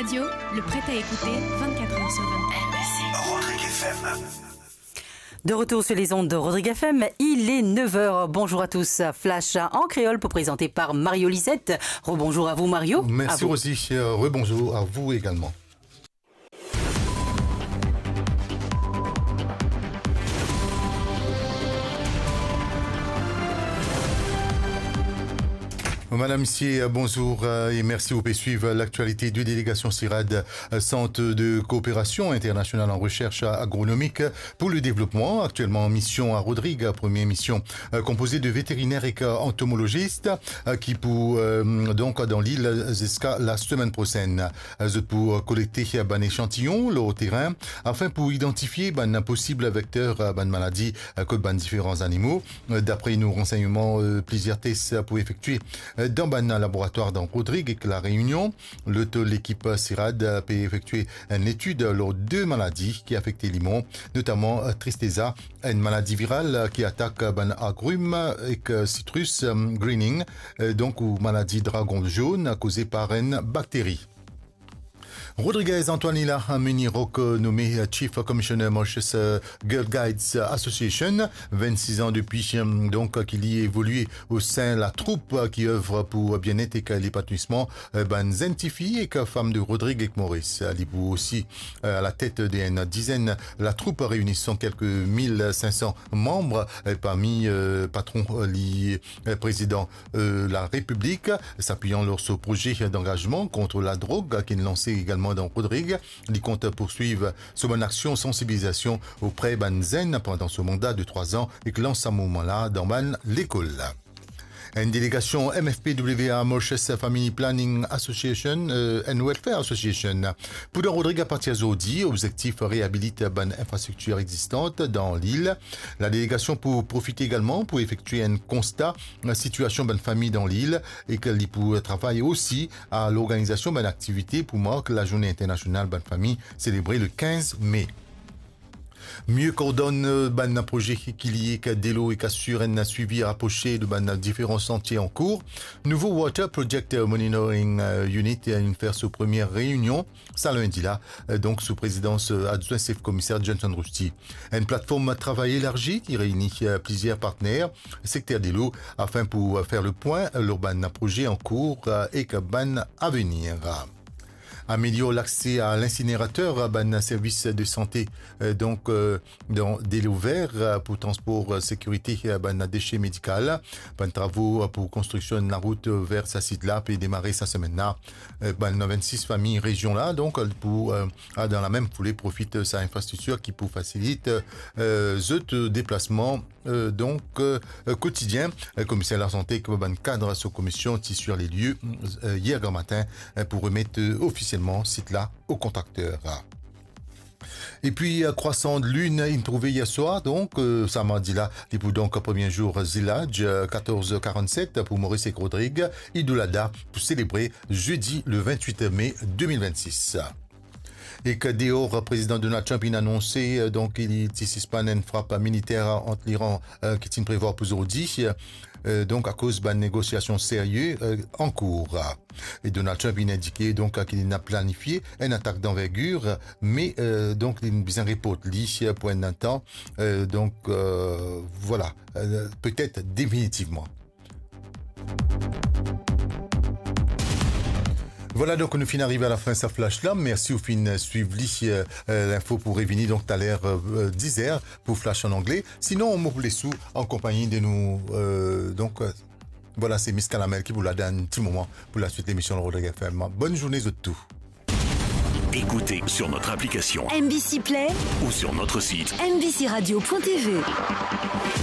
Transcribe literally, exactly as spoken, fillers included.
Radio, le prêt à écouter vingt-quatre heures sur vingt-quatre. Rodrigue F M. De retour sur les ondes de Rodrigue F M, il est neuf heures. Bonjour à tous. Flash en créole pour présenter par Mario Lisette. Rebonjour à vous, Mario. Merci, Rosie. Euh, rebonjour à vous également. Madame, Messieurs, bonjour, euh, et merci. Vous pouvez suivre l'actualité de délégation CIRAD, euh, Centre de coopération internationale en recherche agronomique pour le développement, actuellement en mission à Rodrigues, première mission, euh, composée de vétérinaires et entomologistes, euh, ki pou, euh, donk dan lil ziska la semenn prosenn. Euh, zot pou, euh, kolekte bann echantiyon lor terin afin pou idantifie bann posib vekter, euh, bann maladi, euh, kot bann diferan zanimo. Euh, dapre nou ransegnman, euh, plizier tes pou efektie, euh, dan bann laboratwar dan Rodrigues ek La Reunion. Lot lekip CIRAD, euh, pe efektie enn etid lor de maladi ki afekte limon, notaman, euh, tristeza, enn maladi viral, euh, ki atak, euh, bann agrim, euh, ek, euh, sitrus, euh, greening, euh, donk ou maladi dragon zonn, koze par enn bakteri. Rodriguez Antoine Hila Munirok, euh, nome, euh, Chief Commissioner Mauritius, euh, Girl Guides Association, vennsis an depi, euh, donk, euh, ki li evolue o sein la troup, euh, ki œuvre pou, euh, bienet ek, euh, lepanouisman, euh, bann zenn tifi ek, euh, fam de Rodrigues ek Moris. Euh, li pou osi, euh, a la tet de enn dizenn la troup reyini son kelke mil sink san manm, euh, parmi, euh, patron, euh, li, euh, prezidan, euh, la Repiblik, sapiyan lor so proze dangazman kont ladrog ki inn lanse egalman dan Rodrigues. Li kont pourswiv so bann aksion sansibilizasion opre bann zenn pandan so manda de trwa zan ek lans sa mouvman la dan bann lekol. Enn delegasion M F P W A, Mauritius Family Planning Association, euh, and Welfare Association, pou dan Rodrigues apartir zordi, obzektif reabilit bann infrastriktir egzistan dan lil. Ladelegasion pou profite egalman pou efektie enn konsta sitiasion bann fami dan lil ek li pou travay osi a lorganizasion bann aktivite pou mark Lazourne Internasional Bann Fami, selebre le kinz me. Mie kordonn, euh, bann proze ki, ki lie ek delo ek asir enn swivi raprose de bann diferan santie ankour. Nouvo Water Project Monitoring, euh, Unit, euh, inn fer so premie reyinion sa lindi la, euh, donk sou prezidans, euh, adwin sef komiser Johnson Rusty. Enn platform travay elarzi ki reyini, euh, plizier partner sekter delo afin pou, euh, fer le pwin lor bann proze ankour, euh, ek bann avenir. Amelior lakse a linsinerater, bann servis de sante, euh, donk, euh, dan delo ver, euh, pou transpor, euh, sekirite, euh, bann dese medikal. Bann travo, euh, pou konstriksion larout, euh, ver sa sit la pe demare sa semenn la. Euh, bann vennsis fami rezion la, donk, euh, pou, euh, a, dan la mem foule, profit, euh, sa infrastriktir ki pou fasilit, euh, zot, euh, deplasman, euh, donk, euh, kotidien. Euh, komiser lasante ek bann kad so komisyon ti sir le lie, euh, yer gramatin, euh, pou remet, euh, ofisielman sit la o kontrakter. Epi, euh, krwasan linn inn trouve yer swar, donk, euh, sa mardi la, li pou donk premie zour Ziladj, euh, katorz karannset pou Moris ek Rodrig, Idou Lada pou selebre zedi le vennwit me de mil vennsis. Ek deor, prezidan Donald Trump inn anonse, euh, donk, li ti sispann enn frap militer ant Liran, euh, ki ti prevwar pou zordi, euh, donk, akoz bann negosiasion serye, euh, ankour. E Donald Trump inn indike, donk, ki li inn planifie enn atak danvergir, me, euh, donk, li bizin report li pou enn tan, euh, donk, euh, vwala, euh, petet definitivman. Vwala, donk, nou finn arive a la fin sa flash la. Mersi ou finn swiv li, euh, euh, linfo pou revini, donk, taler, euh, diz er pou flash an angle. Sinon, mo pou les ou an konpagni de nou, euh, donk, euh, vwala, se Miss Kalamel ki pou la dan enn ti moman pou laswit lemision Rodrig F M. Bonn zourne zot tou. Écoutez sur notre application M B C Play ou sur notre site M B C radio point T V.